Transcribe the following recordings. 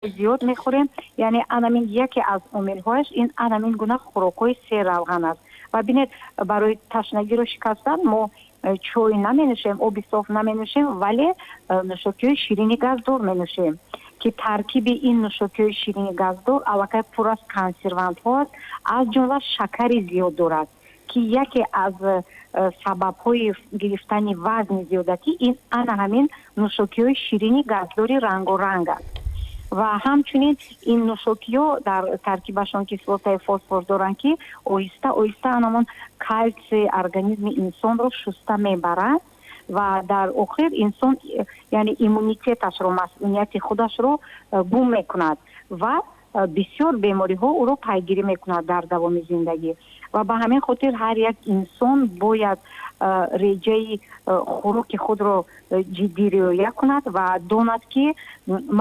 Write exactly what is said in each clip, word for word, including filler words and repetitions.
Зиёд мехӯрем, яъне анамин яке аз омилҳояш ин анамин гуна хӯрокҳои серравған аст. Ва бинед, барои ташнагиро шикастан мо э, чой наменӯшем, оби соф наменӯшем, вале э, нӯшокиҳои ширини газдор менӯшем, ки таркиби ин нӯшокиҳои ширини газдор аллакай пур аз консервантҳо аст, аз ҷумла шакари зиёд дорад, ки яке аз э, сабабҳои гирифтани вазни зиёдатӣ ин ана ҳамин нӯшокиҳои ширини газдори рангоранг аст. Ва ҳамчунин ин нӯшокиҳо дар таркибашон кислотаи фосфор доранд, ки оҳиста оҳиста анамон калсии организми инсонро шуста мебарад ва дар охир инсон, яъне иммунитеташро, масунияти худашро э, гум мекунад ва э, бисёр бемориҳо ӯро пайгирӣ мекунад дар давоми зиндагӣ. Ва ба ҳамин хотир ҳар як инсон бояд э, реҷаи хӯроки худро ҷиддӣ риоя кунад ва донад, ки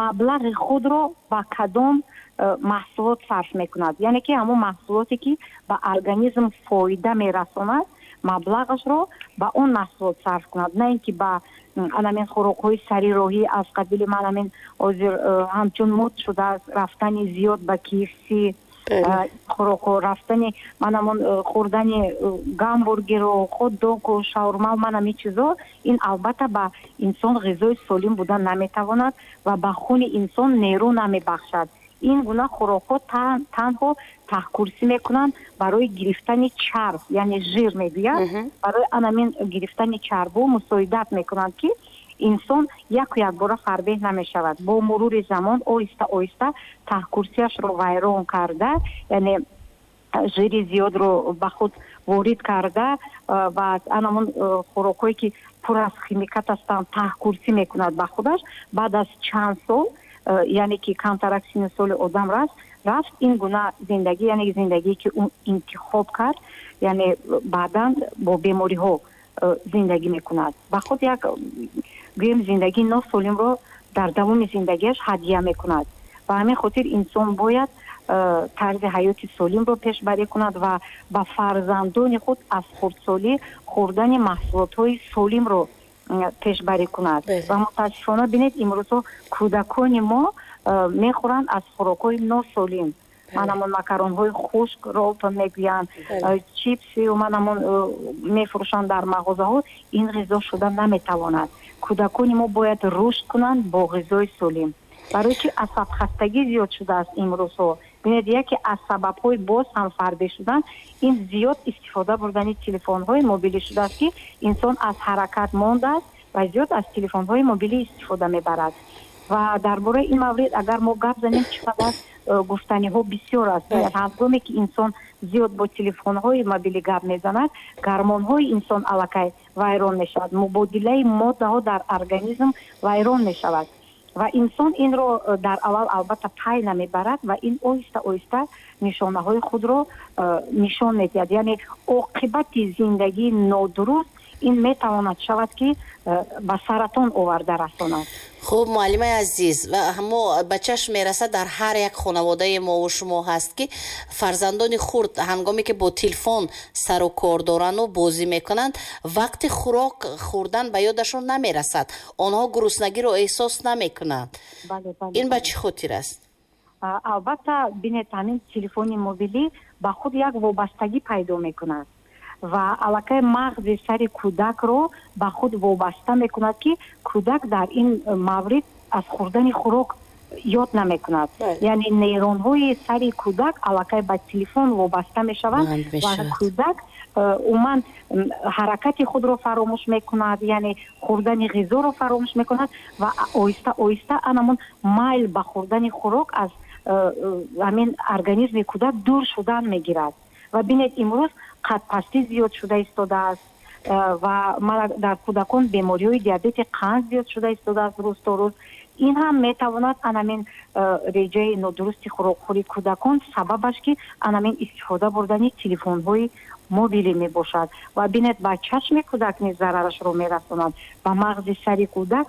маблағи худро ба кадом маҳсулот сарф мекунад, яъне ки ҳамон маҳсулоте, ки ба организм фоида мерасонад, маблағашро ба он маҳсулот сарф кунад, на ин ки ба анамин хӯрокҳои сарироҳӣ аз қабили манамин ҳозир э, ҳамчун мод шудааст рафтани зиёд ба K F C, хӯрокҳо, рафтани манамон э, хӯрдани э, гамбургеру хот-догу шаурма, манам ин чизо. Ин албатта ба инсон ғизои солим буда наметавонад ва ба хуни инсон нерӯ намебахшад. Ин гуна хӯрокҳо танҳо таҳкурсӣ мекунанд барои гирифтани чарб, яъне жир мегӯяд, барои анамин гирифтани чарбу мусоидат мекунанд, ки инсон яку якбора фарбеҳ намешавад. Бо мурури замон оҳиста оҳиста таҳкурсияшро вайрон карда, яъне жири зиёдро ба худ ворид карда ва анамон хӯрокҳое, ки пур аз химикат ҳастанд, таҳкурсӣ мекунад ба худаш. Баъд аз чанд сол, Э, яъне ки камтарак сину соли одам раст рафт, ин гуна зиндагӣ, яъне зиндагие, ки ӯ интихоб кард, яъне баъдан бо бемориҳо э, зиндагӣ мекунад, ба худ як, гӯем, зиндагии носолимро дар давоми зиндагиаш ҳадия мекунад. Ба ҳамин хотир инсон бояд э, тарзи ҳаёти солимро пешбарӣ кунад ва ба фарзандони худ аз хурдсолӣ хӯрдани маҳсулотҳои солимро пешбарӣ кунад. Ва мутаассифона, бинед, имрӯзҳо кӯдакони мо э, мехӯранд аз хӯрокҳои носолим, манамон макаронҳои хушк, ролтон мегӯянд, э, чипсию манамон э, мефурӯшанд дар мағозаҳо. Ин ғизо шуда наметавонад. Кӯдакони мо бояд рушд кунанд бо ғизои солим. Барои чи асабхастагӣ зиёд шудааст имрӯзҳо? Бинед, яке аз сабабҳои боз ҳам фарбеҳ шудан ин зиёд истифода бурдани телефонҳои мобилӣ шудааст, ки инсон аз ҳаракат мондааст ва зиёд аз телефонҳои мобилӣ истифода мебарад. Ва дар бораи ин маврид агар мо гап занем, чӣ қадар э, гуфтаниҳо бисёр аст. Ҳангоме ки инсон зиёд бо телефонҳои мобилӣ гап мезанад, гормонҳои инсон аллакай вайрон мешавад, мубодилаи моддаҳо дар организм вайрон мешавад ва инсон инро э, дар аввал албатта пай намебарад ва ин оҳиста оҳиста нишонаҳои худро э, нишон медиҳад. Яъне оқибати зиндагии нодуруст ин метавонад шавад, ки э, ба саратон оварда расонад. Хуб, муаллимаи азиз, мо ба чашм мерасад, дар ҳар як хонаводаи мову шумо ҳаст, ки фарзандони хурд ҳангоме ки бо телефон сару кор дорану бозӣ мекунанд, вақти хӯрок хӯрдан ба ёдашон намерасад, онҳо гуруснагиро эҳсос намекунанд. Ин ба чӣ хотир аст? Албатта, бинед, ҳамин телефони мобилӣ ба худ як вобастагӣ пайдо мекунад ва аллакай мағзи сари кӯдакро ба худ вобаста мекунад, ки кӯдак дар ин маврид аз хӯрдани хӯрок ёд намекунад. Яъне нейронҳои сари кӯдак аллакай ба телефон вобаста мешаванд ва кӯдак э, умуман ҳаракати худро фаромӯш мекунад, яъне хӯрдани ғизоро фаромӯш мекунад ва оҳиста оҳиста анамон майл ба хӯрдани хӯрок аз э, э, ҳамин организми кӯдак дур шудан мегирад. Ва бинед, имрӯз қадпастӣ зиёд шуда истодааст э, ва дар кӯдакон бемориҳои диабети қанд зиёд шуда истодааст рӯз то рӯз. Ин ҳам метавонад анамин э, реҷаи нодурусти хӯрокхӯрии кӯдакон сабабаш, ки анамин истифода бурдани телефонҳои мобилӣ мебошад. Ва бинед, ба чашми кӯдак низ зарарашро мерасонад, ба мағзи сари кӯдак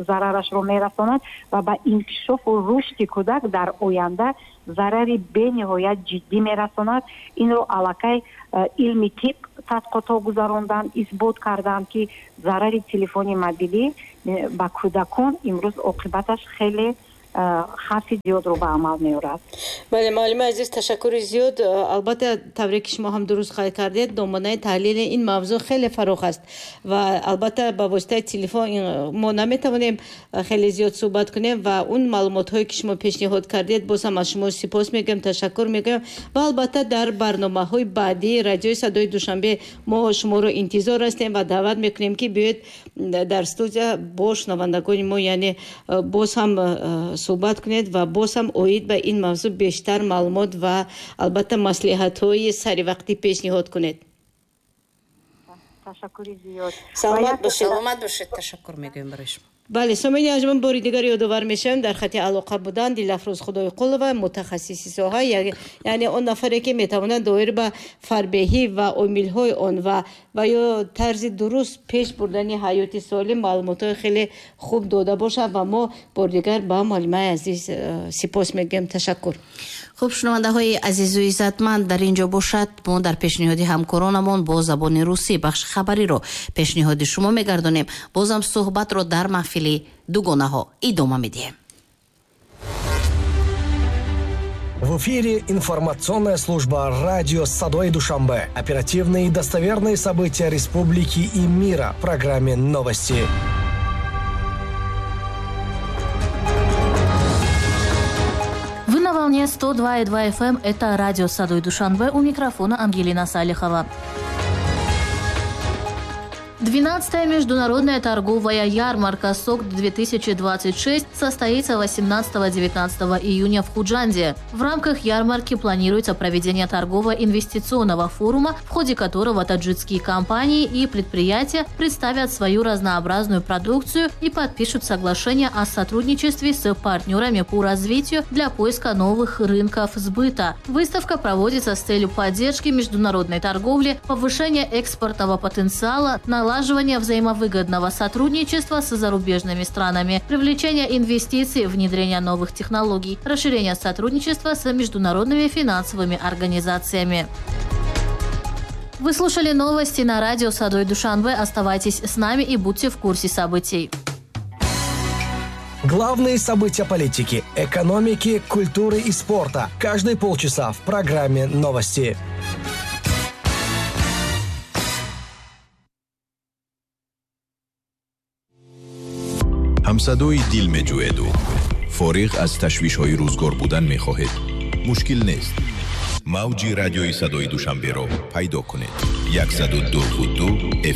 зарарашро мерасонад ва ба инкишофу рушди кӯдак дар оянда зарари бениҳоят ҷиддӣ мерасонад. Инро аллакай э, илми тиб тадқиқотҳо гузаронданд, исбот карданд, ки зарари телефони мобилӣ э, ба кӯдакон имрӯз оқибаташ хеле хавфи зиёдро ба амал меорад. Бале, муаллими азиз, ташаккури зиёд. Албатта, тавре ки шумо ҳам дуруст қайд кардед, доманаи таҳлили ин мавзӯъ хеле фарох аст ва албатта ба воситаи телефон мо наметавонем хеле зиёд суҳбат кунем ва он маълумотҳое ки шумо пешниҳод кардед, боз ҳам аз шумо сипос мегӯям, ташаккур мегӯям ва албатта дар барномаҳои баъдии радиои Садои Душанбе мо шуморо интизор ҳастем ва даъват мекунем, ки биёед дар студия бо шунавандагони мо, яъне боз ҳам суҳбат кунед ва боз ҳам оид ба ин мавзӯъ бештар маълумот ва албатта маслиҳатҳои саривақтӣ пешниҳод кунед. Ташаккури зиёд. Саломат бошед. Саломат бошед. Ташаккур мегӯем барои шумо. Бале, сомони анҷуман бори дигар ёдовар мешавем, дар хати алоқа буданд Дилафрӯз Худойқулова, мутахассиси соҳа, яъне он нафаре ки метавонад доир ба фарбеҳӣ ва омилҳои он ва ва ё тарзи дуруст пеш бурдани ҳаёти солим маълумотҳои хеле хуб дода бошад ва мо бори дигар ба муаллимаи азиз сипос мегӯем. Ташаккур. Хуб, шунавандаҳои азизу иззатманд, дар ин ҷо бошад мо дар пешниҳоди ҳамкоронамон бо забони русӣ бахши хабариро пешниҳоди шумо мегардонем. Бозам суҳбатро дар маҳфили дугонаҳо идома медиҳем. В эфире информационная служба радио «Садои Душанбе». Оперативные и достоверные события республики и мира в программе «Новости». Вы на волне сто два и два эф эм. Это радио «Садои Душанбе». У микрофона Ангелина Салихова. двенадцатая международная торговая ярмарка СОК-две тысячи двадцать шесть состоится восемнадцатого-девятнадцатого июня в Худжанде. В рамках ярмарки планируется проведение торгово-инвестиционного форума, в ходе которого таджикские компании и предприятия представят свою разнообразную продукцию и подпишут соглашение о сотрудничестве с партнерами по развитию для поиска новых рынков сбыта. Выставка проводится с целью поддержки международной торговли, повышения экспортного потенциала, наладживания взаимовыгодного сотрудничества с зарубежными странами, привлечения инвестиций, внедрения новых технологий, расширения сотрудничества с международными финансовыми организациями. Вы слушали новости на радио «Садои Душанбе». Оставайтесь с нами и будьте в курсе событий. Главные события политики, экономики, культуры и спорта. Каждые полчаса в программе «Новости». ҳамсадои дил меҷӯеду фориғ аз ташвишҳои рӯзгор будан мехоҳед. Мушкил нест. Мавҷи радиои Садои Душанберо пайдо кунед. яксаду ду ду